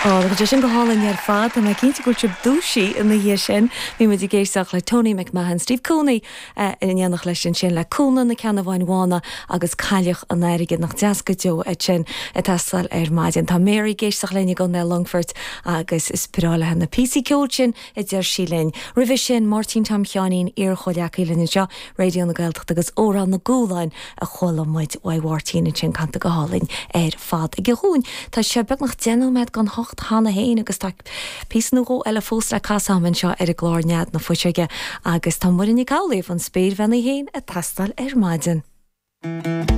Á, tá sé sin go hálainn ar fad. Tá mé cinnte go bhfuil sibh dúisithe ina dhiaidh sin. Bhí muid ag éisteacht le Tony McMahon, Steve Cooney in éineacht leis ansin le Cúnla na Ceannabháin Bhána agus Cailleach an Airgid. Nach deas go deo é sin ag teastáil ar maidin. Tá Mary ag éisteacht linn i gContae Longfoirt agus is breá léi na píosaí ceoil sin a deir sí linn. Roimhe sin, Máirtín Tom Sheáinín, iar-chomhghleacaí linn anseo, Raidió na Gaeltachta agus Amhrán na gCualáin a chuala muid uaidh Mháirtín ansin canta go hálainn ar fad aige dhúinn. Tá sé beagnach 10 nóiméad don hocht cheana féin agus tá píosa nó dhó eile fós le casadh agam anseo ar an gclár Nead na Fuiseoige agus tá Muireann Nic Amhlaoibh, an spéirbhean í féin, ag teastáil ar maidin.